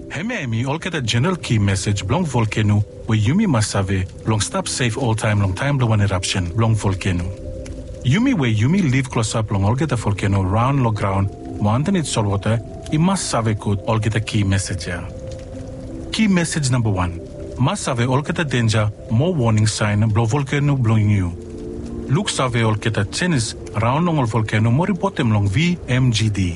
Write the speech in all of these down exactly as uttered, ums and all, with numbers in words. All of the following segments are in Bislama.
Hemia hemi olgeta jeneral ki mesej blong volkeno we yumi mas save blong stap sef oltaem long taem blong wan irapsen blong volkeno. Yumi we yumi liv klosap long olgeta volkeno raon long graon mo andanit solwota, i mas save gud olgeta ki mesej ya. Ki mesej namba wan, mas save olgeta denja mo woning saen blong volkeno blong yu. Luksave olgeta jenis raon long ol volkeno mo ripotem long V M G D.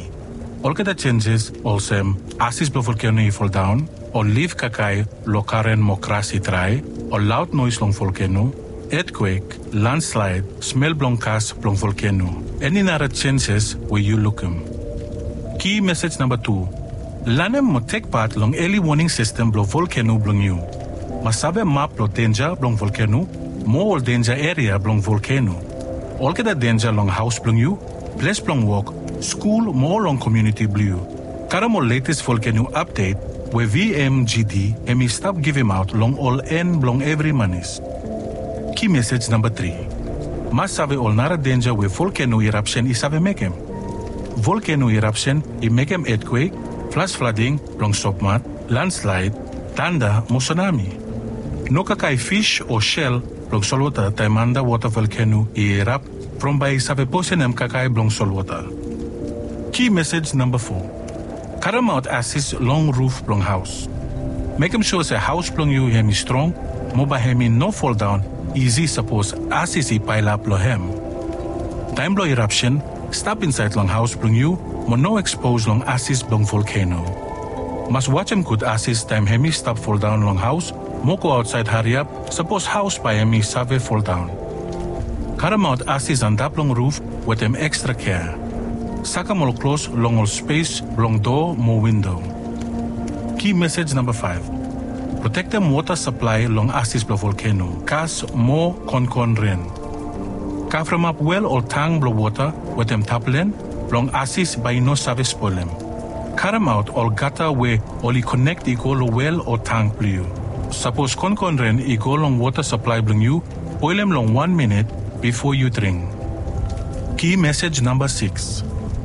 Olgeta jenjes olsem asis blong volkeno i foldaon, ol lif kakae long garen mo gras i drae, ol laod noes long volkeno, etkwek, landslaed, smel blong gas blong volkeno. Eni nara jenjes we yu lukim. Ki mesej namba tu, lanem mo tek pat long eli woning sistem blong volkeno blong yu. Mas save map blong denja blong volkeno mo ol denja eria blong volkeno. Olgeta denja long haos blong yu, ples blong wok, skul mo long komuniti blong yu. Karem ol letes volkeno apdet we V M G D hemi stap givimaot long ol en blong evri manis. Ki mesej namba tri, mas save ol nara denja we volkeno irapsen i save mekem. Volkeno irapsen i mekem etkwek, flas flading blong sopmat, landslaed, tanda mo sunami. No kakae fis o sel blong solwota taem andawota volkeno i irap, from bae i save posenem kakae blong solwota. Ki mesej namba fo, karemaot asis long ruf blong haos. Mekem sua se haos blong yu hemi strong mo bae hemi no foldaon isi sapos asis i paelap long hem. Taem blong irapsen, stap insaed long haos blong yu mo no ekspos long asis blong volkeno. Mas wajem gud asis taem hemi stap foldaon long haos mo go aotsaed hariap sapos haos bae hemi save foldaon. Karemaot asis antap long ruf wetem ekstra kea. Sakem ol klos long ol spes blong doa mo windo. Ki mesej namba faef, protektem wota saplae long asis blong volkeno, gas mo konkon ren. Kavremap wel ol tang blong wota wetem taplen blong asis bae i no save spolem. Karemaot ol gata we oli konek i go long wel o tang blong yu. Sapos konkon ren i go long wota saplae blong yu, boelem long wan minit bifo yu dring. Ki mesej namba sikis,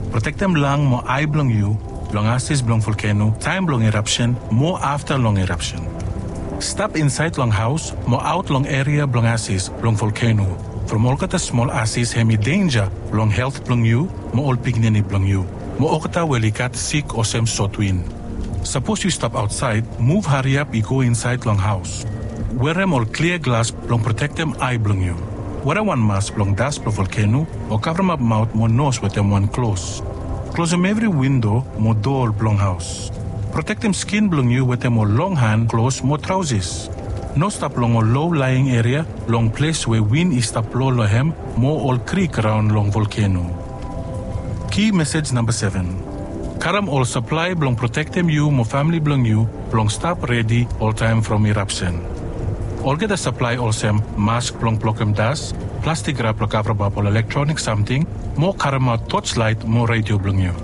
protektem lang mo ae blong yu long asis blong volkeno taem blong irapsen mo afta long irapsen. Stap insaed long haos mo aot long eria blong asis blong volkeno, from olgeta smol asis hemi denja long helt blong yu mo ol pikinini blong yu mo olgeta we oli gat sik olsem sotwin. Sapos yu stap aotsaed, muv hariap i go insaed long haos. Werem ol klia glas blong protektem ae blong yu. Werem wan mas blong das blong volkeno o kavremap maot mo nos wetem wan klos. Klosem evri windo mo doa blong haos. Protektem skin blong yu wetem ol long han klos mo traosis. No stap long ol lo laeing eria long ples we win i stap blo long hem mo ol krik raon long volkeno. Ki mesej namba seven. Karem ol saplae blong protektem yu mo famle blong yu blong stap redi oltaem from irapsen. Olgeta saplae olsem mask blong blokem das, plastik rap blong kavremap ol elektronik samting, mo karemaot toslaet mo redio blong yu.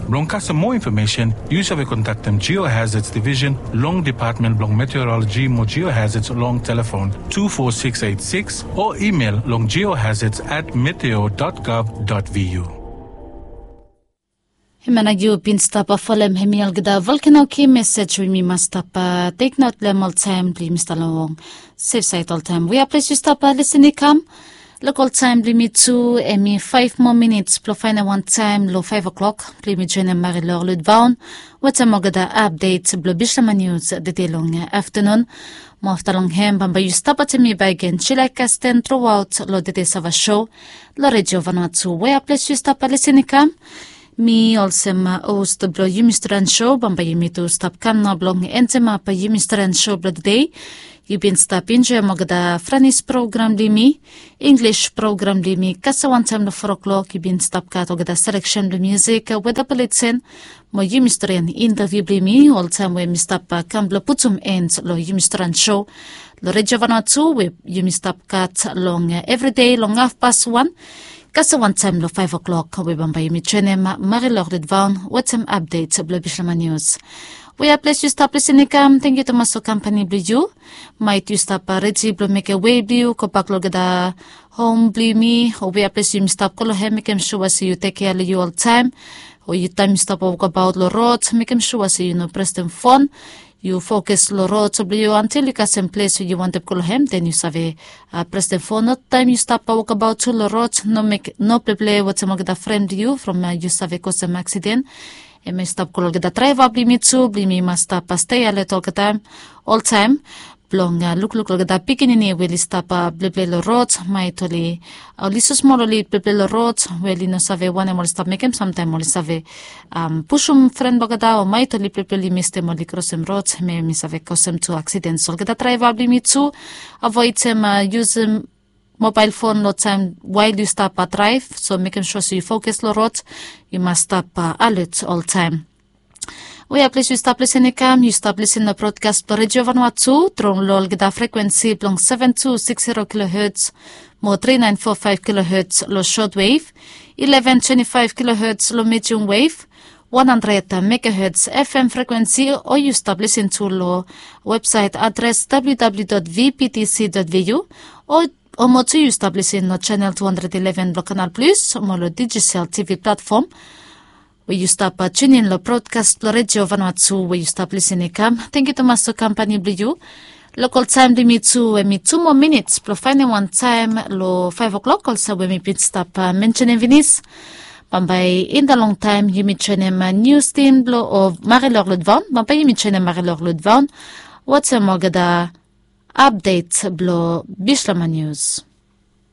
Blong kasem moa infomesen, yu save kontaktem Geohazards Division long Depatmen blong Meteoroloji mo Geohazards long telefon tu fo sikis eit sikis o imel long geohazards at meteo dot gov dot vu. Hemia nao yu bin stap folem hemi olgeta volkeno ki mesej we yumi mas stap teknot long hem oltaem blong yumi stap long sefsaed oltaem. We a ples yu stap lisin i kam. Lokol taem blong yumi tu hemi faef moa minits blong faenem wan taem long faef oklok blong yumi joenem Marilor Ludvaon wetem olgeta apdet blong Bislama Nius tede long aftanun. Mo afta long hem bambae yu stap wetem mi bakegen Julia Kasten truaot long tede Sava Sho long Redio Vanuatu. We a ples yu stap lisin i kam. Mi olsem hos blong yumi Australian Show, bambae yumi tu stap kam nao blong endemap yumi Australian Show blong tede. Yu bin stap enjoem olgeta Franis program blong yumi, Inglis program blong yumi, kasem wantaem long fo oklok yu bin stap gat olgeta seleksen blong musik, weda buleten, mo yumi Australian interviu blong yumi, oltaem we mi stap kam blong putum en long yumi Australian Show long Redio Vanuatu we yumi stap gat long evri dei long hafpas wan kasem wantaem long faef oklok we bambae yumi joenem Marilor Ludvaon wetem apdet blong Bislama Nius. We a ples yu stap lisin i kam, tangkiu tumas long kampani blong yu. Maet yu stap redi blong mekem wei blong yu gobak long olgeta hom blong yumi o we a ples yumi stap go long hem, mekem sua se yu tekkea long yu oltaem. O yu taem yu stap wokabaot long rod, mekem sua se yu no prestem fon. Yu fokus long rod blong yu antil yu kasem ples we yu wantem go long hem, den yu save prestem fon. Notaem yu stap wokabaot tu long rod, no pleple wetem olgeta fren blong yu from yu save kosem aksiden. Em i stap go long olgeta draeva blong yumi tu, blong yumi mas stap stei alet olgeta, oltaem, blong lukluk long olgeta pikinini we oli stap pleple long rod, maet oli, oli so smol oli pleple long rod, we oli no save wanem oli stap mekem, samtaem oli save pusum fren blong olgeta, o maet oli pleple oli mistem oli krosem rod, me mi save kosem tu aksiden. So olgeta draeva blong yumi tu, avoedem yusum mobael fon long taem wael yu stap draev, so mekem sua se yu fokus long rod, yu mas stap alet oltaem. Wea ples yu stap lisin i kam, yu stap lisin long brodkas blong Redio Vanua tu, tru long olgeta frekuensi blong seven two six zero kilohertz mo three nine four five kilohertz long shortwave, eleven twenty five kilohertz long medium wave, one hundred megahertz F M frekuensi, o yu stap lisin tu long websaet adres W W W dot V P T C dot V U, o o mo tu yu stap lisin long channel two hundred eleven blong Canal Plus, mo long Digicel T V platform, we yu stap tunin long brodkas blong Redio Vanua tu we yu stap lisin i kam. Tangkiu tumas long kampani blong yu. Lokol taem blong yumi tu, we mi tu moa minits blong faenem wan taem long five o'clock, olsem we mi bin stap mensenem finis. Bambae in da long taem yumi joenem nius tin blong o Marilor Ludvaon. Bambae yumi joenem Marilor Ludvaon wetem olgeta apdet blong Bislama Nius.